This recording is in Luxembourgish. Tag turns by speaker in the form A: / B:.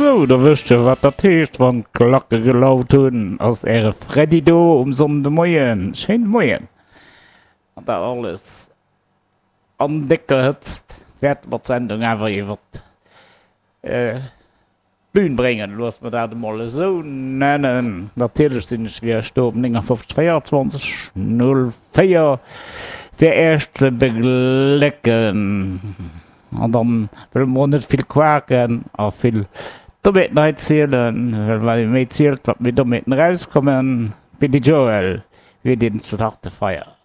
A: Sou, da wësst der wat dat heescht, wann d'Klacke gelaut hunn, ass äre Freddy do um Sonndemoien. Schéine Moien! An dat alles an décker Hëtzt wäerte mer d'Sendung awer iwwert d'Bün bréngen, loosse mer dat emol esou nennen. Natierlech sinn ech fir iech do um 59 24 04 fir iech ze beglécken. An dann wëlle mer och net vill quaken a vill Dommheeten hei zielen, well wat ee méi zielt, wat méi Dommheeten erauskommen. Billy Joel, We didn't start the fire.